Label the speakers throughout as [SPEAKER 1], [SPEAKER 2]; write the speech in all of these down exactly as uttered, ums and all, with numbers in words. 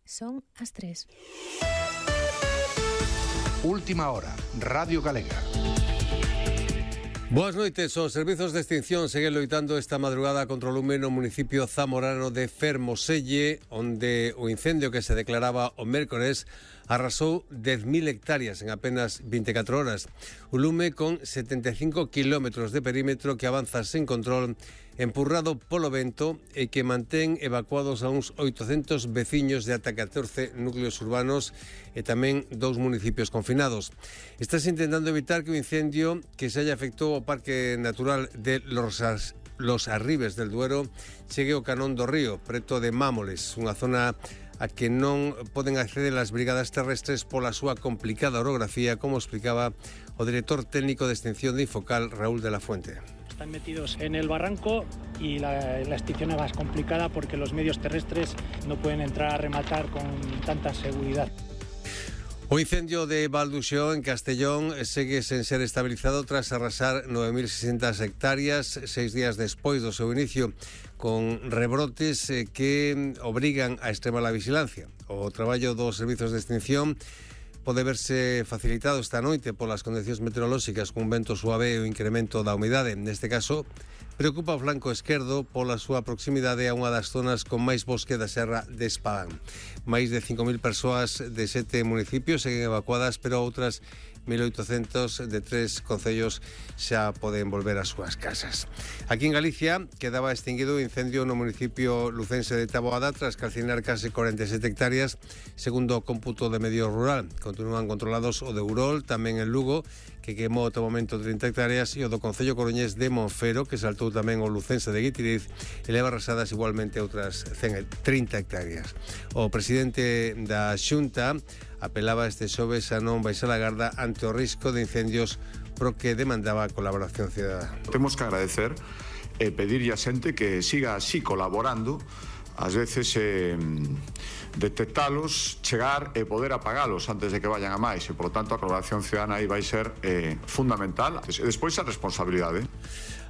[SPEAKER 1] Son as tres.
[SPEAKER 2] Última hora, Radio Galega.
[SPEAKER 3] Boas noites. Os servizos de extinción seguen loitando esta madrugada contra o lume no municipio zamorano de Fermoselle, onde o incendio que se declaraba o mércores arrasou dez mil hectáreas en apenas vinte e catro horas. Un lume con setenta e cinco kilómetros de perímetro que avanza sen control, empurrado polo vento e que mantén evacuados a uns oitocentos veciños de ata catorce núcleos urbanos e tamén dous municipios confinados. Estás intentando evitar que o incendio que se haya afectou ao Parque Natural de Los, Los Arribes del Duero chegue ao Canón do Río, preto de Mámoles, unha zona a que non poden acceder as brigadas terrestres pola súa complicada orografía, como explicaba o director técnico de extinción de Infocal, Raúl de la Fuente.
[SPEAKER 4] Están metidos en el barranco y la, la extinción es más complicada porque los medios terrestres no pueden entrar a rematar con tanta seguridad.
[SPEAKER 3] O incendio de Valduxó en Castellón segue sen ser estabilizado tras arrasar nove mil seiscentas hectáreas seis días despois do seu inicio, con rebrotes que obrigan a extremar a vigilancia. O traballo dos servizos de extinción pode verse facilitado esta noite polas condicións meteorolóxicas, cun vento suave e o incremento da humidade. Neste caso, preocupa o flanco esquerdo pola súa proximidade a unha das zonas con máis bosque da serra de Espadán. Máis de cinco mil persoas de sete municipios seguen evacuadas, pero outras mil oitocentos de tres concellos xa poden volver ás súas casas. Aquí en Galicia quedaba extinguido o incendio no municipio lucense de Taboada tras calcinar case cuarenta e sete hectáreas, segundo o cómputo de medio rural. Continúan controlados o de Urol, tamén en Lugo, que quemou ata o momento trinta hectáreas, e o do concello coruñés de Monfero, que saltou tamén o lucense de Guitiriz, e leva arrasadas igualmente outras trinta hectáreas. O presidente da Xunta apelaba este xoves a non baixar a garda ante o risco de incendios, pro que demandaba a colaboración cidadá.
[SPEAKER 5] Temos que agradecer e pedirlle a xente que siga así colaborando, ás veces eh, detectalos, chegar e poder apagalos antes de que vayan a máis, e, por lo tanto, a colaboración cidadana aí vai ser eh, fundamental. E despois a responsabilidade.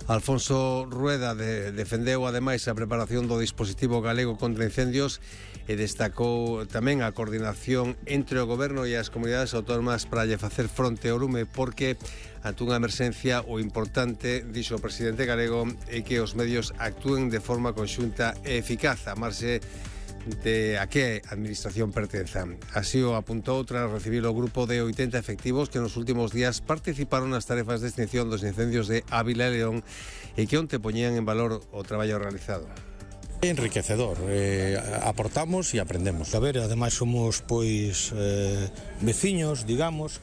[SPEAKER 3] Alfonso Rueda de, defendeu ademais a preparación do dispositivo galego contra incendios e destacou tamén a coordinación entre o goberno e as comunidades autónomas para lle facer fronte ao lume, porque ante unha emerxencia o importante, dixo o presidente galego, é que os medios actúen de forma conxunta e eficaz, a marxe de a que administración pertenza. Así o apuntou tras recibir o grupo de oitenta efectivos que nos últimos días participaron nas tarefas de extinción dos incendios de Ávila e León e que onte poñían en valor o traballo realizado.
[SPEAKER 6] Enriquecedor, eh, aportamos e aprendemos. A ver, ademais somos pois eh, veciños, digamos,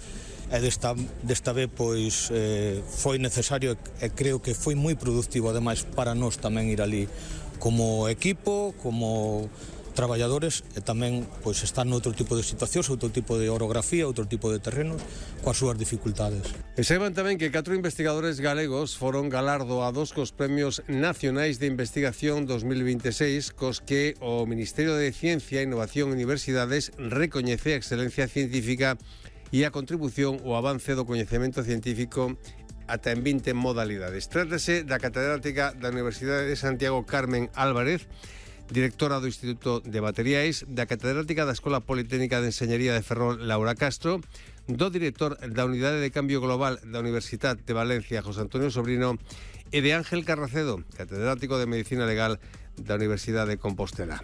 [SPEAKER 6] e desta, desta vez pois eh, foi necesario e creo que foi moi productivo ademais para nós tamén ir ali como equipo, como traballadores, e tamén pois estar noutro tipo de situacións, outro tipo de orografía, outro tipo de terrenos, coas súas dificultades.
[SPEAKER 3] E saiban tamén que catro investigadores galegos foron galardoados cos Premios Nacionais de Investigación dos mil veintiséis, cos que o Ministerio de Ciencia, Innovación e Universidades recoñece a excelencia científica e a contribución ao avance do coñecemento científico ata en vinte modalidades. Trátase da catedrática da Universidade de Santiago, Carmen Álvarez, directora do Instituto de Materiais, da catedrática da Escola Politécnica de Enxeñería de Ferrol, Laura Castro, do director da Unidade de Cambio Global da Universidade de Valencia, José Antonio Sobrino, e de Ángel Carracedo, catedrático de Medicina Legal da Universidade de Compostela.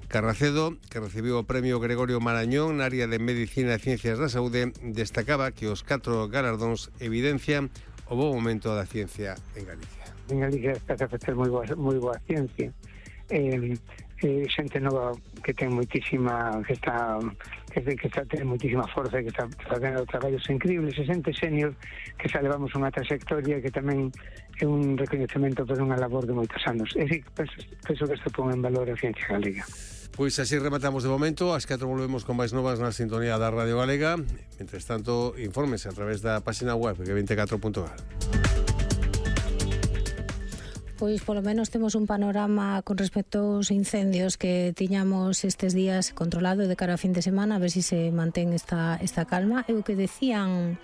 [SPEAKER 3] Carracedo, que recibiu o premio Gregorio Marañón na área de Medicina e Ciencias da Saúde, destacaba que os catro galardóns evidencian o bo momento da ciencia en Galicia.
[SPEAKER 7] En Galicia está a facer moi boa, moi boa ciencia. Eh, eh, xente nova que ten moitísima que está que, que está ten moitísima forza e que está facendo traballos increíbles, e xente senior que xa levamos unha trayectoria que tamén é un recoñecemento por unha labor de moitos anos. E si, penso, penso que isto pon en valor a ciencia galega.
[SPEAKER 3] Pois así rematamos de momento. Ás catro volvemos con máis novas na sintonía da Radio Galega. Mentres tanto, infórmese a través da página web que veinticuatro punto gal.
[SPEAKER 1] Pois polo menos temos un panorama con respecto aos incendios que tiñamos estes días controlado de cara a fin de semana, a ver se si se mantén esta, esta calma. E o que decían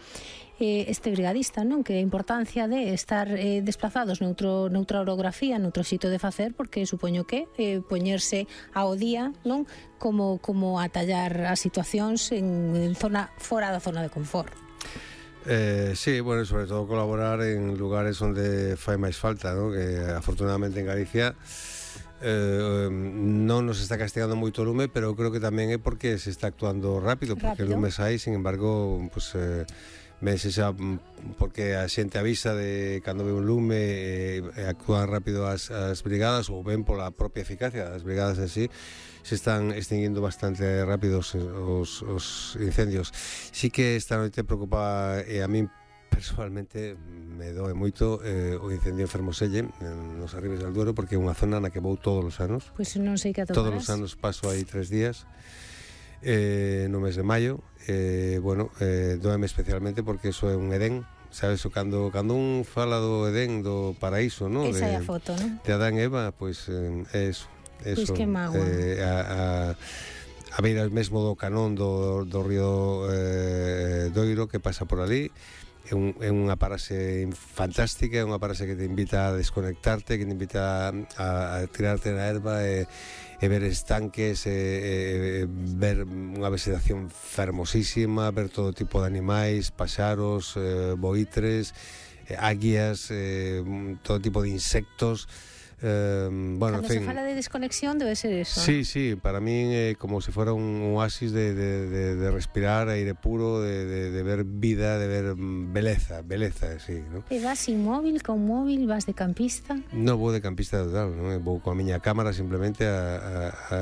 [SPEAKER 1] eh, este brigadista, non? Que a importancia de estar eh, desplazados noutro, noutra orografía, noutro xito de facer, porque supoño que eh, poñerse ao día, non? Como, como atallar as situacións en, en zona fora da zona de confort.
[SPEAKER 3] Eh, sí, bueno, sobre todo colaborar en lugares onde fai máis falta, ¿no? Que afortunadamente en Galicia eh, non nos está castigando moito o lume, pero creo que tamén é porque se está actuando rápido, porque
[SPEAKER 1] rápido.
[SPEAKER 3] o lume sai, sin embargo, pues, eh, vense xa porque a xente avisa de cando ve un lume e eh, actúan rápido as, as brigadas, ou ven pola propia eficacia das brigadas en sí, se están extinguindo bastante rápidos os, os incendios. Sí que esta noite preocupa, e a min personalmente me doe moito eh, o incendio en Fermoselle, nos Arribes del Duero, porque é unha zona na que vou todos os anos.
[SPEAKER 1] Pois pues non sei que atoparás.
[SPEAKER 3] Todos os anos paso aí tres días eh, no mes de maio. Eh, bueno, eh, doeme especialmente porque eso é un Edén, sabes, o cando, cando un fala do Edén, do paraíso, ¿no?
[SPEAKER 1] Esa
[SPEAKER 3] de,
[SPEAKER 1] é a foto, ¿no?
[SPEAKER 3] De Adán e Eva, pois eh, é eso.
[SPEAKER 1] Pois que mágoa.
[SPEAKER 3] Eh, a, a, a beira mesmo do canón do, do río eh, Doiro, que pasa por ali. É, un, é unha parase fantástica, é unha parase que te invita a desconectarte, que te invita a, a tirarte na erva e, e ver estanques, e, e ver unha vegetación fermosísima, ver todo tipo de animais, paxaros, eh, boitres, eh, águias, eh, todo tipo de insectos. Eh, bueno,
[SPEAKER 1] Cando
[SPEAKER 3] en fin,
[SPEAKER 1] se fala de desconexión debe ser eso.
[SPEAKER 3] Sí, sí, para mí é eh, como se fora un oasis de, de, de, de respirar aire puro, de, de, de ver vida, de ver beleza, beleza, sí, ¿no?
[SPEAKER 1] E vas sin móvil, con móvil, vas de campista?
[SPEAKER 3] No vou de campista total, non? Vou coa miña cámara simplemente a, a, a